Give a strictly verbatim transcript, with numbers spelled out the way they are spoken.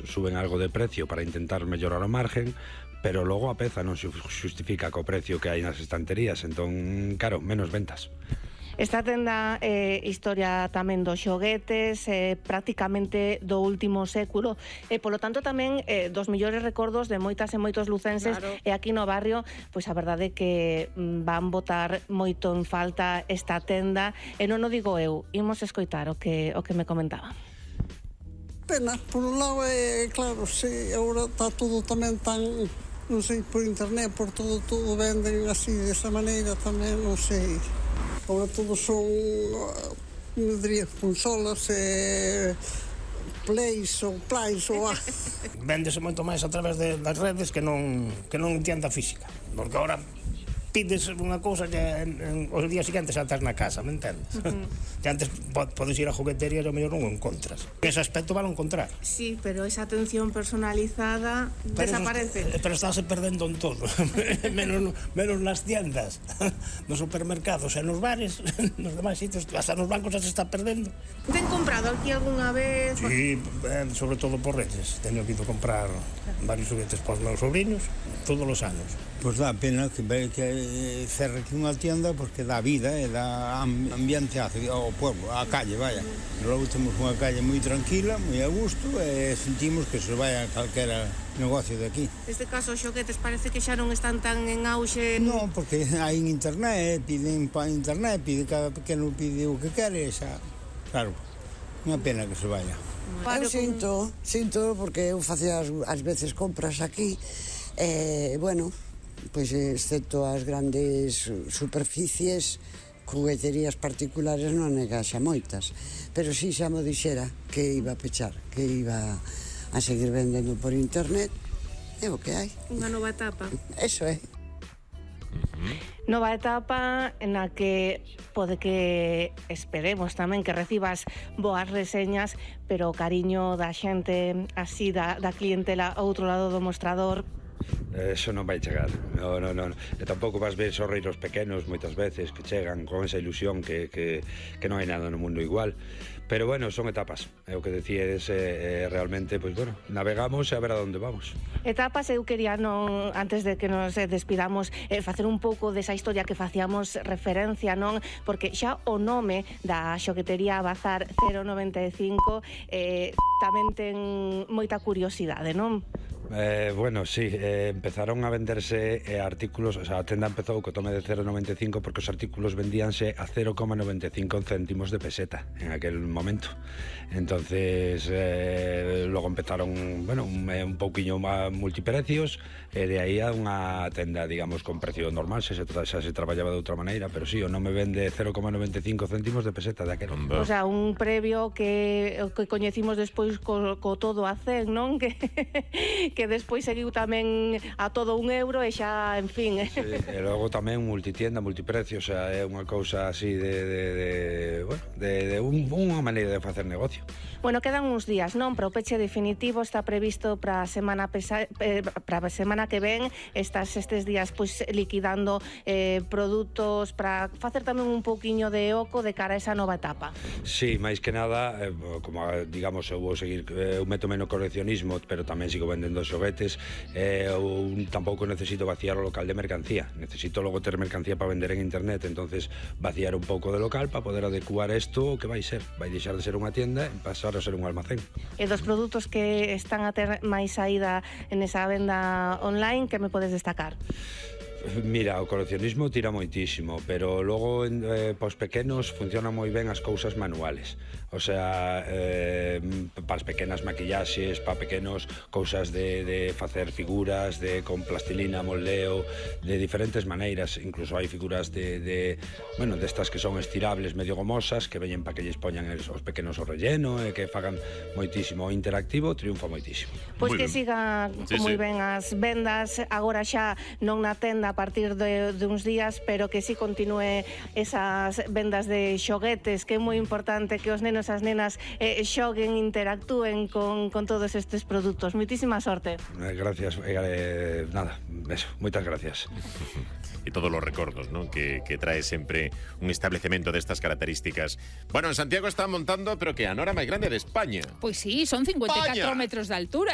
suben algo de precio para intentar mellorar o margen, pero logo a peza non se xustifica co precio que hai nas estanterías, entón, claro, menos ventas. Esta tenda é eh, historia tamén dos xoguetes, eh, prácticamente do último século, e polo tanto tamén eh, dos millores recordos de moitas e moitos lucenses, claro. E aquí no barrio, pois a verdade é que mm, van botar moito en falta esta tenda, e non o digo eu, imos escoitar o que, o que me comentaba. Pena, por un lado é claro, sí, agora está todo tamén tan, non sei, por internet, por todo, todo venden así, desa maneira tamén, non sei. Agora todos son, non diría, consolas, eh, plays ou plays ou... Véndese moito máis a través de, das redes que non, que non en tienda física, porque agora pides unha cousa que en, en, os días siguientes saltas na casa, me entendes? Uh-huh. Que antes podes ir a juguetería e ao mellor non o encontras. Ese aspecto van a encontrar. Sí, pero esa atención personalizada pero desaparece. Eso, pero estáse perdendo en todo. menos, menos nas tiendas, nos supermercados e nos bares, nos demais sitios, hasta nos bancos se está perdendo. Ten comprado aquí algunha vez? Sí, eh, sobre todo por Reyes. Teño ido comprar varios juguetes para os meus sobrinos todos os anos. Pois dá pena que, que cerre aquí unha tienda porque dá vida e dá ambiente ao pueblo, á calle, vaya. Logo temos unha calle moi tranquila, moi a gusto e sentimos que se vai a calquera negocio de aquí. Neste caso, os xoguetes parece que xa non están tan en auxe. Non, porque hai en internet, piden para internet, pide cada pequeno pide o que quere, xa, claro, unha pena que se vaya. Eu sinto, sinto porque eu facía as, as veces compras aquí e, bueno, pois excepto as grandes superficies, jugueterías particulares non negaxa moitas, pero si xa mo dixera que iba a pechar, que iba a seguir vendendo por internet, é o que hai. Unha nova etapa. Eso é. Nova etapa na que pode que esperemos tamén que recibas boas reseñas, pero o cariño da xente así, da, da clientela ao outro lado do mostrador, eso non vai chegar, no, no, no. E tampouco vas ver sorreiros pequenos moitas veces que chegan con esa ilusión que, que, que non hai nada no mundo igual. Pero bueno, son etapas, é o que decíes, eh, realmente, pois bueno, navegamos e a ver a onde vamos. Etapas, eu quería, non, antes de que nos despidamos, eh, facer un pouco desa historia que facíamos referencia, non? Porque xa o nome da xoguetería Bazar cero noventa e cinco eh, tamén ten moita curiosidade, non? Eh, bueno, sí, eh, empezaron a venderse eh, artículos, o sea, a tenda empezou co tome de cero noventa e cinco porque os artículos vendíanse a cero coma noventa e cinco céntimos de peseta en aquel momento. Entonces, eh, logo empezaron, bueno, un, un pouquiño máis multiprecios, e eh, de aí a unha tenda, digamos, con precio normal, se se, xa se traballaba de outra maneira, pero sí, o non me vende cero coma noventa e cinco céntimos de peseta daquel. O sea, un previo que, que coñecimos despois co, co todo a cen, non? Que que despois seguiu tamén a todo un euro e xa, en fin. Sí, e logo tamén multitienda, multiprecio, o sea, é unha cousa así de, de, de, bueno, de, de un, unha maneira de facer negocio. Bueno, quedan uns días, non? Para o peche definitivo está previsto para a semana pesa, eh, para a semana que ven, estás estes días pois liquidando eh, produtos para facer tamén un pouquiño de oco de cara a esa nova etapa. Sí, máis que nada, eh, como digamos, eu vou seguir, eh, eu meto menos coleccionismo, pero tamén sigo vendendo xoguetes, eh, eu tampouco necesito vaciar o local de mercancía, necesito logo ter mercancía para vender en internet, entonces vaciar un pouco de local para poder adecuar isto que vai ser, vai deixar de ser unha tienda e pasar a ser un almacén. E dos produtos que están a ter máis saída en esa venda online, que me podes destacar? Mira, o coleccionismo tira moitísimo, pero logo eh, para os pequenos funcionan moi ben as cousas manuales. O sea, eh, para as pequenas maquillaxes, para pequenos cousas de, de facer figuras, de con plastilina, moldeo, de diferentes maneiras. Incluso hai figuras de, de bueno, destas que son estirables, medio gomosas, que veñen para que lles poñan os pequenos o relleno e que fagan moitísimo. O interactivo triunfa moitísimo. Pois pues que siga sí, moi sí. ben as vendas, agora xa non na tenda a partir de, de uns días, pero que si sí continúe esas vendas de xoguetes, que é moi importante que os nenos nenos, as nenas eh, xoguen, interactúen con, con todos estes produtos. Moitísima sorte. Eh, gracias, eh, nada, eso, moitas gracias. E todos os recordos, ¿no? que, que trae sempre un establecemento destas características. Bueno, en Santiago está montando, pero que a nora máis grande de España. Pois sí, son cincuenta e catro España. metros de altura.